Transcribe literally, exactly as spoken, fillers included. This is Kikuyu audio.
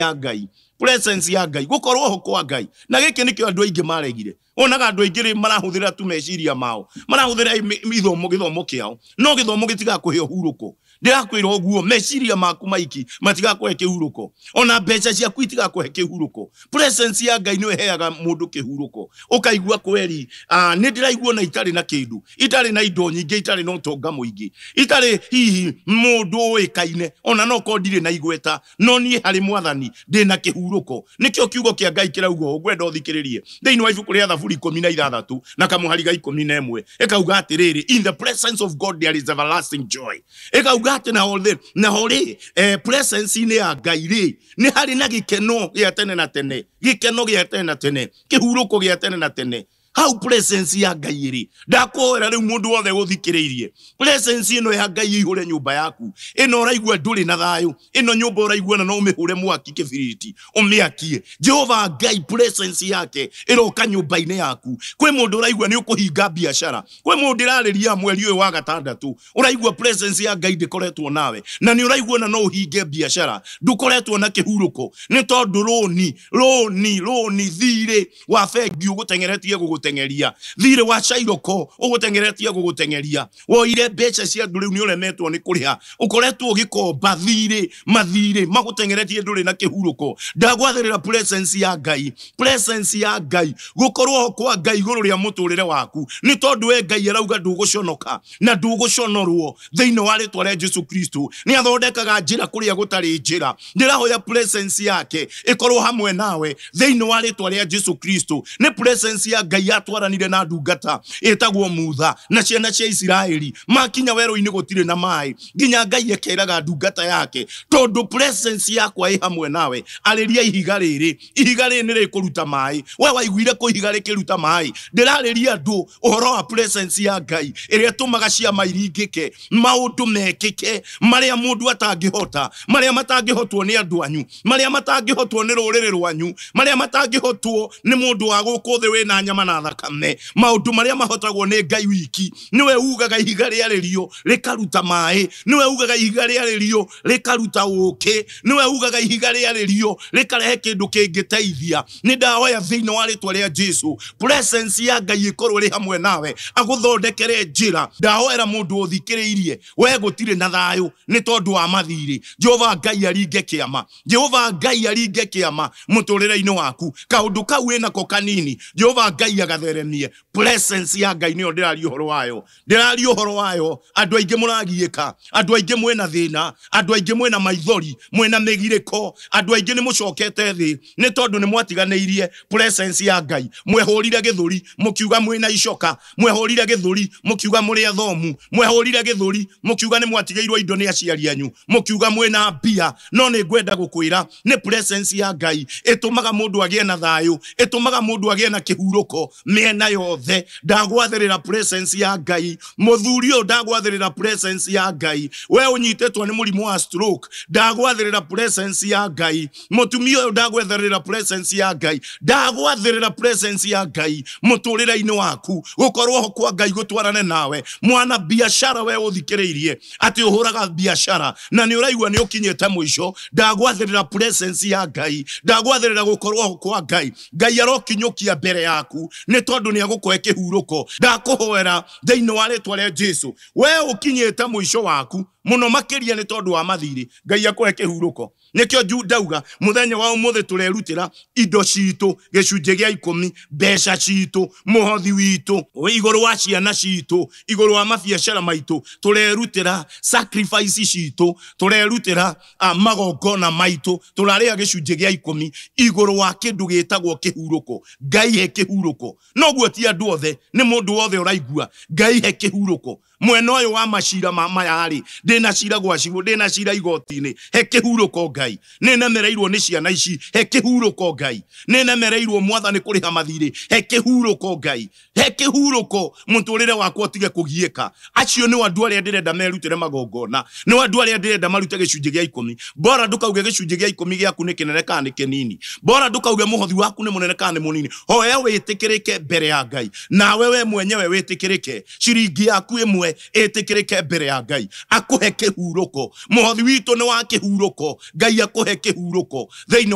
ya Ngai, presence ya Ngai, gukorwo ho kwa Ngai. Na gĩkĩ nĩkĩo andũ aingĩ maregire. Onaga andũ aingĩ rĩ marahũthĩra tu meciria mao, marahũthĩra ithomo gĩthomo kĩao, no gĩthomo gĩtigakũhe ũhurũko. Ndĩrakwĩra ũguo, meciria maku maiki matigakũhe kĩhurũko, ona mbeca ciaku itigakũhe kĩhurũko. Presence ya Ngai nĩyo ĩheaga mũndũ kĩhurũko. Ũkaigua kweri, ah, nĩ ndĩraigua na itarĩ na kĩndũ, itarĩ na indo nyingĩ, itarĩ na ũtonga mũingĩ, itarĩ hihi mũndũ ũĩkaine, ona no korwo ndirĩ na igweta, no niĩ harĩ Mwathani ndĩna kĩhurũko. Nĩkĩo kiugo kĩa Ngai kĩrauga ũũ, ngwenda ũthikĩrĩrie thĩinĩ wa ibuku rĩa Thaburi ikũmi na ithathatũ na kamũhari ga ikũmi na ĩmwe, ĩkauga atĩrĩrĩ, in the presence of God there is everlasting joy. Ĩkauga atĩ naho rĩ, naho rĩ, eh, presence-inĩ ya Ngai rĩ, nĩ harĩ na gĩkeno gĩa tene na tene, gĩkeno gĩa tene na tene, kĩhurũko gĩa tene na tene. Hau presence ya Ngai ĩrĩ, ndakwĩra rĩu mũndũ wothe ũthikĩrĩirie, presence ĩno ya Ngai ĩihũre nyũmba yaku. Ĩno ũraigua ndũrĩ na thayũ, ĩno nyũmba ũraigua na no ũmĩhũre mwaki kĩbiriti ũmĩakie. Jehova Ngai presence yake ĩroka nyũmba-inĩ yaku. Kwĩ mũndũ ũraigua nĩ ũkũhinga biacara, kwĩ mũndũ ĩrarĩria mweri ũyũ wa gatandatũ, ũraigua presence ya Ngai ndĩkoretwo nawe, na nĩ ũraigua na no ũhinge biacara, ndũkoretwo na kĩhurũko, nĩ tondũ rũni rũni rũni thirĩ wa bengi ũgũteng'eretie gũgũteng'eria, thirĩ wa Cairoko ũgũteng'eretie gũgũteng'eria, woire mbeca cia andũ rĩu nĩ ũremetwo nĩ kũrĩha, ũkoretwo ũgĩkomba thirĩ, mathirĩ magũteng'eretie, ndũrĩ na kĩhurũko. Ndagwathĩrĩra presence ya Ngai, presence ya Ngai, gũkorwo kwa Ngai igũrũ rĩa mũtũrĩre waku, nĩ tondũ we Ngai arauga ndũgũconoka na ndũgũconorwo thĩinĩ wa rĩtwa rĩa Jesu Kristo. Nĩ athondekaga njĩra kũrĩa gũtarĩ njĩra. Ndĩrahoya presence yake ĩkorwo hamwe nawe thĩinĩ wa rĩtwa rĩa Jesu Kristo. Nĩ presence ya Ngai yatwaranire na ndungata ĩtagwo Mutha na ciana cia Isiraeli, makinya werũ-inĩ gũtirĩ na maĩ, nginya Ngai ekeraga ndungata yake, tondũ presence yakwa ĩ hamwe nawe, arĩria ihiga rĩrĩ, ihiga rĩrĩ nĩ rĩkũruta maĩ. We waiguire kũ ihiga rĩkĩruta maĩ? Ndĩrarĩria andũ ũhoro wa presence ya Ngai ĩrĩa ĩtũmaga ciama iringĩke, maũndũ mekĩke marĩa mũndũ atangĩhota, marĩa matangĩhotwo nĩ andũ anyu, marĩa matangĩhotwo nĩ rũrĩrĩ rwanyu, marĩa matangĩhotwo nĩ mũndũ wa gũkũ thĩ wĩna nyama na thakame, maũndũ marĩa mahotagwo nĩ Ngai wiki. Nĩwe ugaga ihiga rĩarĩrio rĩkaruta maĩ, nĩwe ugaga ihiga rĩarĩrio rĩkaruta ũkĩ, nĩwe ugaga ihiga rĩarĩrio rĩkarehe kĩndũ kĩngĩteithia. Nĩ ndahoya thĩinĩ wa rĩtwa rĩa Jesu, presence ya Ngai ĩkorwo ĩrĩ hamwe nawe, agũthondekere njĩra. Ndahoera mũndũ ũthikĩrĩirie, we gũtirĩ na thayũ nĩ tondũ wa mathirĩ, Jehova Ngai aringe kĩama, Jehova Ngai aringe kĩama mũtũrĩre-inĩ waku. Kaũndũ kau wĩnako kanini, Jehova Ngai agatheremie. Presence ya Ngai nĩyo ndĩraria ũhoro wayo, ndĩraria ũhoro wayo. Andũ aingĩ mũragiĩka, andũ aingĩ mwĩna thĩna, andũ aingĩ mwĩna maithori, mwĩna mĩgirĩko, andũ aingĩ nĩ mũcokete thĩ nĩ tondũ nĩ mwatiganĩirie presence ya Ngai. Mwehũrire gĩthũri mũkiuga mwĩna icoka, mwehũrire gĩthũri mũkiuga mũrĩ athomu, mwehũrire gĩthũri mũkiuga nĩ mwatigĩirwo indo nĩ aciari anyu, mũkiuga mwĩna mbia. No nĩ ngwenda gũkwĩra nĩ presence ya Ngai ĩtũmaga mũndũ agĩe na thayũ, ĩtũmaga mũndũ agĩe na kĩhurũko mĩena yothe. Ndagwathĩrĩra presence ya Ngai, mũthuri ũyũ, ndagwathĩrĩra presence ya Ngai. We ũnyitĩtwo nĩ mũrimũ wa stroke, ndagwathĩrĩra presence ya Ngai. Mũtumia ũyũ, ndagwathĩrĩra presence ya Ngai, ndagwathĩrĩra presence ya Ngai mũtũrĩre-inĩ waku, gũkorwo ho kwa Ngai gũtwarane nawe. Mwana biashara, we ũthikĩrĩirie atĩ ũhũraga biashara na nĩ ũraigua nĩ ũkinyĩte mũico, ndagwathĩrĩra presence ya Ngai, ndagwathĩrĩra gũkorwo ho kwa Ngai. Ngai arokinyũkia mbere yaku nĩ tondũ nĩ agũkũhe kĩhurũko. Ndakũhoera thĩinĩ wa rĩtwa rĩa Jesu, we ũkinyĩte mũico waku mũno makĩria nĩ tondũ wa mathirĩ, Ngai akũhe kĩhurũko. Nĩkĩo nju ndauga mũthenya wa ũmũthĩ tũrerutĩra indo citũ, gĩcunjĩ gĩa ikũmi, mbeca citũ, mũhothi witũ, igũrũ wa ciana citũ, igũrũ wa mabiacara maitũ, tũrerutĩra sacrifice citũ, tũrerutĩra uh, magongona maitũ, tũrarĩa gĩcunjĩ gĩa ikũmi igũrũ wa kĩndũ gĩtagwo kĩhurũko. Ngai he kĩhurũko. Noguo ti andũ othe, nĩ mũndũ wothe ũraigua Ngai he kĩhurũko. Mwena ũyũ wa macira ma maya rĩ, ndĩna cira gwa cibũ, ndĩna cira igoti-inĩ, he kĩhurũko Ngai. Nĩ nemereirwo nĩ ciana ici, he kĩhurũko Ngai. Nĩ nemereirwo Mwathani kũrĩha mathirĩ, he kĩhurũko Ngai, he kĩhurũko mũtũrĩre wakwa ũtige kũgiĩka. Acio nĩ andũ arĩa ndĩrenda merutĩre magongona, nĩ andũ arĩa ndĩrenda marute gĩcunjĩ gĩa ikũmi. Bora ndũkauge gĩcunjĩ gĩa ikũmi gĩaku nĩ kĩnene kana nĩ kĩnini, bora ndũkauge mũhothi waku nĩ mũnene kana nĩ mũnini. Hoya wĩtĩkĩrĩke mbere ya Ngai, nawe we mwenyewe wĩtĩkĩrĩke. Ciringi yaku ĩmwe ĩtĩkĩre ĩtĩkĩrĩke mbere ya Ngai, akũhe kĩhurũko. Mũhothi witũ nĩ wa kĩhurũko. Ngai akũhe kĩhurũko thĩinĩ.